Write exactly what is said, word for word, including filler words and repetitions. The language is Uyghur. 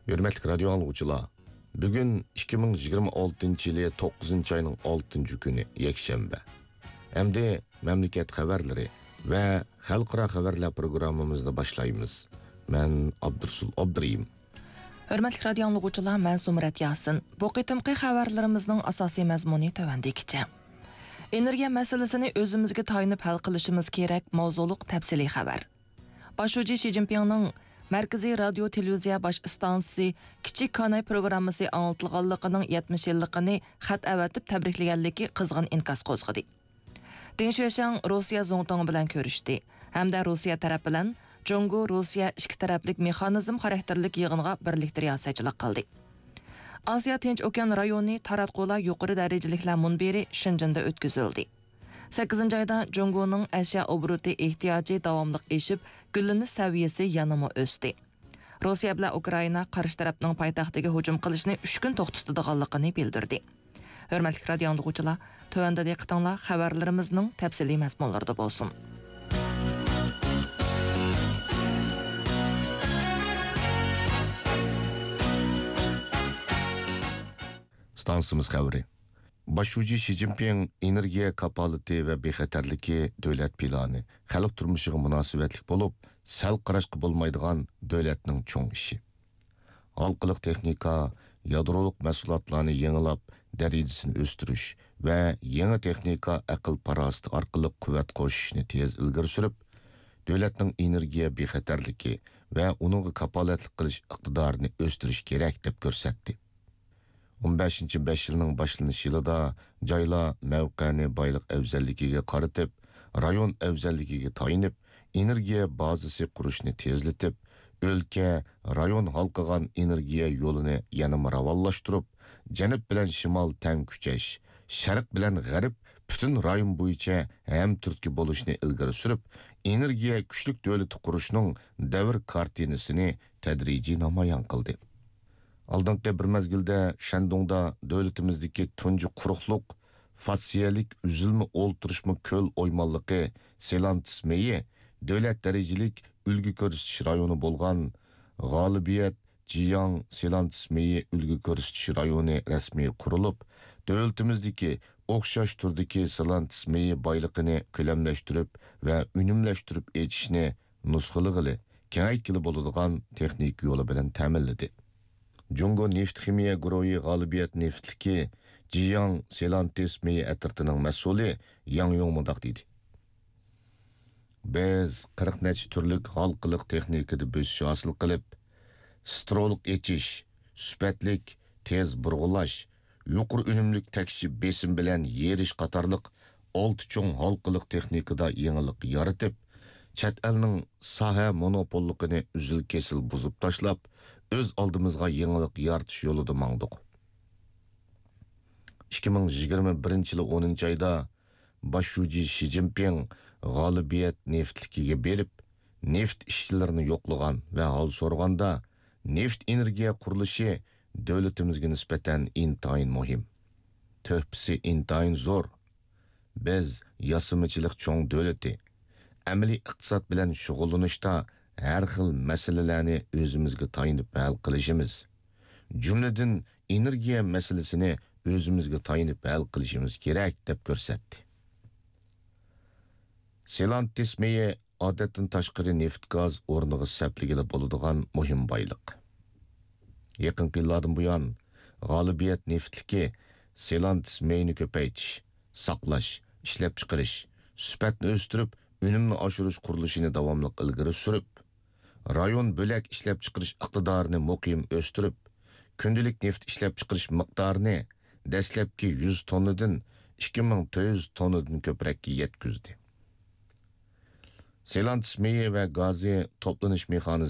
ھۆرمەتلىك رادىيو ئاڭلىغۇچىلار، بۈگۈن ئىككى مىڭ يىگىرمە ئالتىنچى يىلى توققۇزىنچى ئاينىڭ ئالتىنچى كۈنى، يەكشەنبە. ئەمدى مەملىكەت خەۋەرلىرى ۋە خەلقئارا خەۋەرلەر پروگراممىمىزنى باشلايمىز. مەن ئابدۇرسۇل ئابدۇرېھىم. ھۆرمەتلىك رادىيو ئاڭلىغۇچىلار، مەن زۇمرەت ياسىن. بۇ قېتىمقى خەۋەرلىرىمىزنىڭ ئاساسىي مەزمۇنى تۆۋەندىكىچە. ئېنېرگىيە مەسىلىسىنى ئۆزىمىزگە تايىنىپ ھەل قىلىشىمىز كېرەك ماۋزۇلۇق تەپسىلىي خەۋەر. باش شۇجى شى جىنپىڭنىڭ مەركىزىي رادىيو تېلېۋىزىيە باش ئىستانسىسى كىچىك كاناي پروگراممىسى ئاڭلىتىلغانلىقىنىڭ يەتمىش يىللىقىنى خەت ئەۋەتىپ تەبرىكلىگەنلىكى قىزغىن ئىنكاس قوزغىدى. دېڭ شۈەشياڭ روسىيە زۇڭتۇڭى بىلەن كۆرۈشتى ھەمدە روسىيە تەرەپ بىلەن جۇڭگو روسىيە ئىككى تەرەپلىك مېخانىزم خاراكتېرلىك يىغىنغا بىرلىكتە رىياسەتچىلىك قىلدى. ئاسىيا تىنچ ئوكيان رايونى تاراتقۇلار يۇقىرى دەرىجىلىكلەر مۇنبىرى شېنجېندا ئۆتكۈزۈلدى. سەككىزىنچى ئايدا جۇڭگونىڭ ئەشيا ئوبوروتى ئېھتىياجى داۋاملىق ئېشىپ، گۈللىنىش سەۋىيەسى يەنىمۇ ئۆستى. روسىيە بىلەن ئۇكرائىنا قارشى تەرەپنىڭ پايتەختىگە ھۇجۇم قىلىشنى ئۈچ كۈن توختىتىدىغانلىقىنى بىلدۈردى. ھۆرمەتلىك رادىيو ئاڭلىغۇچىلار، تۆۋەندە دىققىتىڭلار خەۋەرلىرىمىزنىڭ تەپسىلىي مەزمۇنلىرىدا بولسۇن. ئىستانسىمىز خەۋىرى. باش شۇجى شى جىنپىڭ ئېنېرگىيە كاپالىتى ۋە بىخەتەرلىكى دۆلەت پىلانى خەلق تۇرمۇشىغا مۇناسىۋەتلىك بولۇپ، سەل قاراشقا بولمايدىغان دۆلەتنىڭ چوڭ ئىشى. ھالقىلىق تېخنىكا، يادرولۇق مەھسۇلاتلارنى يېڭىلاپ، دەرىجىسىنى ئۆستۈرۈش ۋە يېڭى تېخنىكا ئەقىل-پاراسىتى ئارقىلىق قۇۋۋەت قوشۇشنى تېز ئىلگىرى سۈرۈپ، دۆلەتنىڭ ئېنېرگىيە بىخەتەرلىكى ۋە ئۇنىڭغا كاپالەتلىك قىلىش ئىقتىدارىنى ئۆستۈرۈش كېرەك، دەپ كۆرسەتتى. ئون بەشىنچى بەش يىلنىڭ باشلىنىش يىلىدا جايلار مەۋقەنى بايلىق ئەۋزەللىكىگە قارىتىپ، رايون ئەۋزەللىكىگە تايىنىپ، ئېنېرگىيە بازىسى قۇرۇشنى تېزلىتىپ، ئۆلكە، رايون ھالقىغان ئېنېرگىيە يولىنى يەنىمۇ راۋانلاشتۇرۇپ، جەنۇب بىلەن شىمال تەڭ كۈچەش، شەرق بىلەن غەرب پۈتۈن رايون بويىچە ھەمتۈرتكە بولۇشنى ئىلگىرى سۈرۈپ، ئېنېرگىيە كۈچلۈك دۆلىتى قۇرۇشنىڭ دەۋر كارتىنىسىنى تەدرىجىي نامايان قىلدى. ئالدىنقى بىر مەزگىلدە شەندۇڭدا دۆلىتىمىزدىكى تۇنجى قۇرۇقلۇق، فاسسىيەلىك ئۈزۈلمە ئولتۇرۇشما كۆل ئويمانلىقى سېلانتىس مېيى دۆلەت دەرىجىلىك ئۈلگە كۆرسىتىش رايونى بولغان غالىبىيەت جياڭ سېلانتىس مېيى ئۈلگە كۆرسىتىش رايونى رەسمىي قۇرۇلۇپ، دۆلىتىمىزدىكى ئوخشاش تۈردىكى سېلانتىس مېيى بايلىقىنى كۆلەملەشتۈرۈپ ۋە ئۈنۈملەشتۈرۈپ ئېچىشنى نۇسخىلىغىلى، كېڭەيتكىلى بولىدىغان تېخنىكا يولى بىلەن تەمىنلىدى. جۇڭگو نېفىت خىمىيە گۇرۇھى غالىبىيەت نېفىتلىكى جياڭ سېلانتىس مېيى ئەترىتىنىڭ مەسئۇلى ياڭ يۇڭ مۇنداق دېدى: بىز قىرىق نەچچە تۈرلۈك ھالقىلىق تېخنىكىدا بۆسۈش ھاسىل قىلىپ، سترولۇق ئېچىش، سۈپەتلىك، تېز بۇرغىلاش، يۇقىرى ئۈنۈملۈك تەكشى بېسىم بىلەن يېرىش قاتارلىق ئالتە چوڭ ھالقىلىق تېخنىكىدا يېڭىلىق يارىتىپ، چەت ئەلنىڭ ساھە مونوپوللۇقىنى ئۈزۈل-كېسىل بۇزۇپ تاشلاپ، ئۆز ئالدىمىزغا يېڭىلىق يارىتىش يولىدا ماڭدۇق. ئىككى مىڭ يىگىرمە بىرىنچى يىلى ئونىنچى ئايدا باش شۇجى شى جىنپىڭ غالىبىيەت نېفىتلىكىگە بېرىپ، نېفىت ئىشچىلىرىنى يوقلىغان ۋە ھال سورىغاندا، نېفىت ئېنېرگىيە قۇرۇلۇشى دۆلىتىمىزگە نىسبەتەن ئىنتايىن مۇھىم. تۆھپىسى ئىنتايىن زور. بىز ياسىمىچىلىق چوڭ دۆلىتى. ئەمەلىي ئىقتىساد بىلەن شۇغۇللىنىشتا ھەر خىل مەسىلىلەرنى ئۆزىمىزگە تايىنىپ ھەل قىلىشىمىز، جۈملىدىن ئېنېرگىيە مەسىلىسىنى ئۆزىمىزگە تايىنىپ ھەل قىلىشىمىز كېرەك، دەپ كۆرسەتتى. سېلانتىس مېيى ئادەتتىن تاشقىرى نېفىت-گاز ئورنىغا سەپلىگىلى بولىدىغان مۇھىم بايلىق. يېقىنقى يىللاردىن بۇيان، غالىبىيەت نېفىتلىكى سېلانتىس مېيىنى كۆپەيتىش، ساقلاش، ئىشلەپچىقىرىش، سۈپەتنى ئۆستۈرۈپ، ئۈنۈمنى ئاشۇرۇش قۇرۇلۇشىنى داۋاملىق ئىلگىرى سۈرۈپ، رايون بۆلەك ئىشلەپچىقىرىش ئىقتىدارىنى مۇقىم ئۆستۈرۈپ، كۈندىلىك نېفىت ئىشلەپچىقىرىش مىقدارىنى دەسلەپكى يۈز توننىدىن ئىككى مىڭ تۆت يۈز توننىدىن كۆپرەككە يەتكۈزدى. سېلانتىس مېيى ۋە گازى توپلىنىش مېخانىزمى